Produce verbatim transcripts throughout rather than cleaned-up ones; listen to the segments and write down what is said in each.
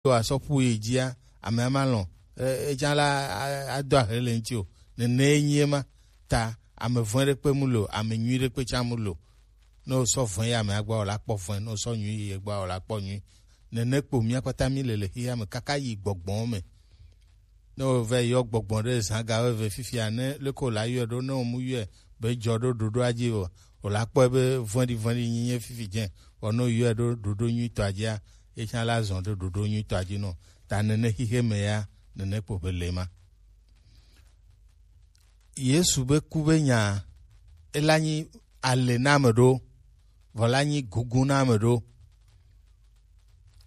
wa sɔ ƒu yi dzia, ame ama lɔ̃, e, etsã la, a, ado ahe le ŋuti o. Nene ye nyi ema. Ta ame vɔ̃e ɖekpe mu le o, ame nyui ɖekpe tsã mu le o. Ne wosɔ vɔ̃e yi amea gbɔ, wòla kpɔ vɔ̃e. Ne wosɔ nyui yi egbɔ, wòla kpɔ nyui. Nene kpo mía kpata mí le le xexea me kaka yi gbɔgbɔwo me. Ne wòva yi yɔ gbɔgbɔ ɖe zã ga eve fifia, ne leke wòla yɔe ɖo, ne wòmu yɔe be dzɔ ɖo ɖoɖoa dzi o, wòla kpɔe be vɔ̃ɖi vɔ̃ɖi nyi nye fifi dzẽ. Vɔ ne wòyɔe ɖo ɖoɖo nyuitɔa dzia, etsã la zɔ ɖe ɖoɖo nyuitɔa dzi nɔ. Ta nene xixe me ya, nene kpo be le ma. Yesu be ku be nya, ela nyi ale na ame ɖo, vɔ la nyi gugu na ame ɖo.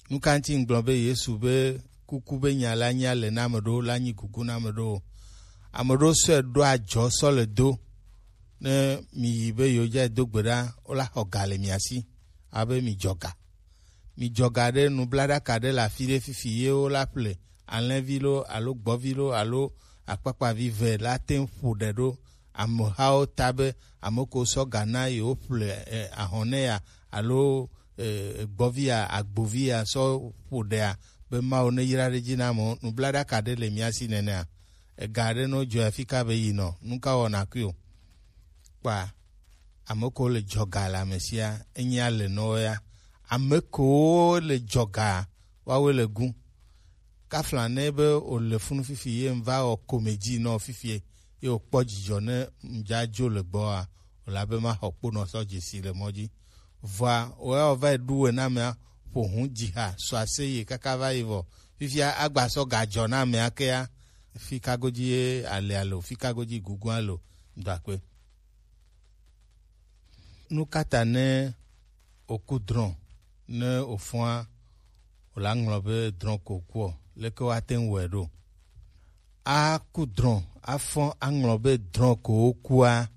Nu ka ŋuti ŋgblɔ be Yesu be kuku be nya la nyi ale na ame ɖo, la nyi gugu na ame ɖo? Ame ɖo sɔe ɖo adzɔ sɔ le do. Ne mi yi be yewo dza do gbe ɖa, wola xɔ ga le mia si, abe mi dzɔ ga. Mi dzɔ ga ɖe nublaɖaka ɖe le afi ɖe fifi ye wola ƒle alẽvi lo alo gbɔvi lo alo akpakpavi ve la te ŋu ƒo ɖe ɖo amehawo ta be ame ko sɔ ga na yewo ƒle, eh, ahɔ̃ ne ya alo, eh, gbɔvi ya, agbovi ya sɔ ƒo ɖea be Mawu ne yra ɖe dzi na amewo. Nublaɖaka ɖe le mia si nenea? Ega ɖe no dzɔe afi ka be yi nɔ, nu ka wɔna kui o? Kpa ame ko le dzɔga le ame sia, enye ale nɔ ya. Ame ko le dzɔga, woawoe le gu. Kafla ne be wòle funu fifi ye ŋva wɔ komedzi nɔ fifi ye wòkpɔ dzidzɔ ne ŋdza dzo le gbɔa, wòla be maxɔ kponɔ sɔ dzesi le mɔ dzi. Vɔa, wòya wòva yi ɖu we na amea, ƒo hu dzi ha, sɔ ase ye kaka va yi vɔ. Fifia agba sɔ gadzɔ na amea kea, fi ka godzi ye ale alo, fi ka godzi gugua lo, ŋdɔ akpe. Nu ka ta ne wòku drɔ̃, ne wòfɔa, wòla ŋlɔ be drɔ̃ ko wòkuɔ, leke woate ŋu wɔe ɖo? Aku drɔ̃, afɔ aŋlɔ be drɔ̃ ko wòkua,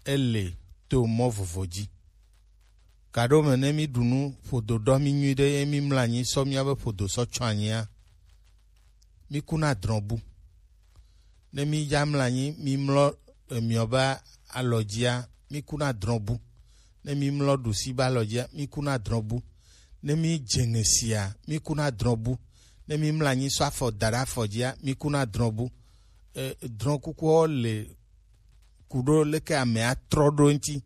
ele to mɔ vovo dzi. Gaɖo me ne mí ɖu nu, ƒodo ɖɔ mí nyuiɖe, ye mí mlɔ anyi sɔ míabe ƒodo sɔ tsɔ anyia, mí kuna drɔ̃ bu. Ne mí dza mlɔ anyi, mí mlɔ emiɔ be alɔ dzia, mí kuna drɔ̃ bu. Ne mí mlɔ ɖusi be alɔ dzia, mí kuna drɔ̃ bu. Ne mí dze ŋe sia, mí kuna drɔ̃ bu. Ne mí mlɔ anyi sɔ afɔ da ɖe afɔ dzia, mí kuna drɔ̃ bu. E, drɔ̃ kukuwo le ku ɖo leke amea trɔ ɖo ŋuti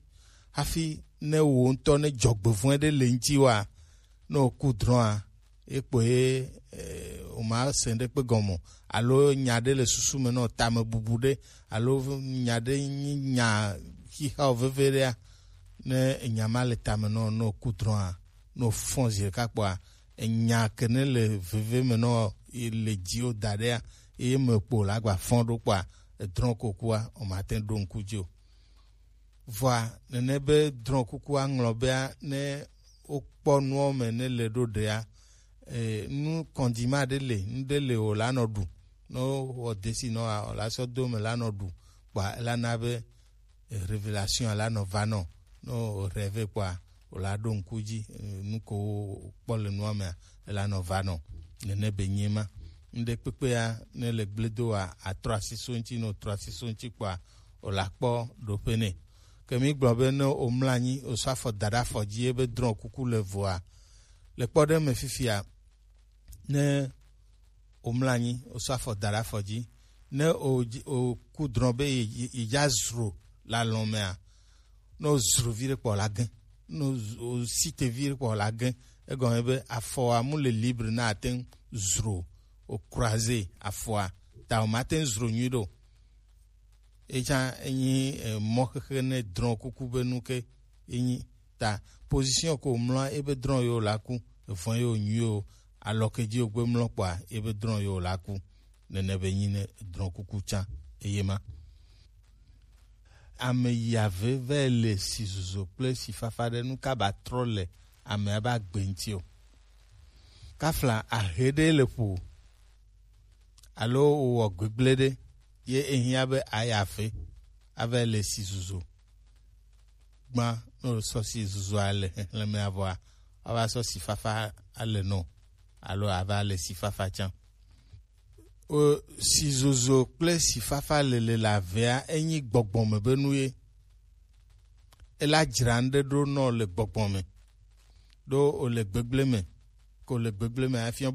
hafi ne wò ŋutɔ ne dzɔgbevɔ̃e ɖe le ŋuti wa, ne wòku drɔ̃a, ye kpo ye, eh, wòma se ɖekpe gɔme o. Alo nya ɖe le susu me nɔ, tame bubu ɖe, alo nya ɖe nyi nya xixewo veve ɖea, ne enya ma le tame nɔ, ne wòku drɔ̃a, ne wòfɔ zi ɖeka kpɔa, enya ke ne le veve me nɔ, ye le dziwò da ɖea, ye me kpo la gba fɔ ɖo kpɔa, edrɔ̃ kokua, wòmate ŋu ɖo ŋku dzi o. Vɔa, nene be drɔ̃ kuku aŋlɔ bea, ne wokpɔ nuwo me ne le ɖo ɖea, e, nu kɔndima ɖe le, nu ɖe le wòla nɔ ɖu. Ne wowɔ desi nɔ, wòla sɔ do me la nɔ ɖu. Kpa ela na be, e, révélation la nɔ va nɔ. Ne wò rêve kpɔa, wòla ɖo ŋku dzi, e, nu ko wokpɔ le nua mea, ela nɔ va nɔ. Nene be nye ma. Ŋɖe kpekpea, ne le gble do wa, atrɔ asi so ŋuti, ne wòtrɔ asi so ŋuti kpɔa, wòla kpɔ ɖoƒe nɛ. Ke mí gblɔ be ne wòmlɔ anyi, wòsɔ afɔ da ɖe afɔ dzi, ebe drɔ̃ kuku le voa, le kpɔɖeŋu me fifia, ne wòmlɔ anyi, wòsɔ afɔ da ɖe afɔ dzi, ne wòdzi-, wòku drɔ̃ be ye-, ye-, yedza zro le alɔ̃ mea, ne wòzro vi ɖe kpɔ la gẽ, ne wòz-, wòsi te vi ɖe kpɔ la gẽ, egɔme be afɔa mu le libre na ate ŋu zro, wòcroise afɔa, ta wòmate ŋu zro nyui ɖe o. Etsã enyi, eh, mɔxexe ne drɔ̃ kuku be nu ke enyi. Ta position ko mlɔ ebe drɔ̃ yo la ku, evɔn yo nyu yo, alɔ ke dzi wo gbe mlɔ kpɔa, ebe drɔ̃ yo la ku. Nene be nyi ne drɔ̃ kuku tsã eye ma. Ame yi ave vɛ le si zuzo kple si fafa ɖe nu ka ba trɔ le amea ba gbe ŋuti o. Kafla ahe ɖe le ƒo alo wowɔ gbegblẽ ɖe, ye ehiã be ayi aƒe ava le si zuzo. Gbã ne wòsɔ si zuzoa le xexlẽmea vɔa, ava sɔ si fafa ale nɔ alo ava le si fafa tsã. O, si zozo kple si fafa lele le avea enyi gbɔgbɔ me be nu ye. Ela dzra ŋɖe ɖo nɔ le gbɔgbɔ me, ɖo wòle gbegblẽ me. ko le gbegble me, efia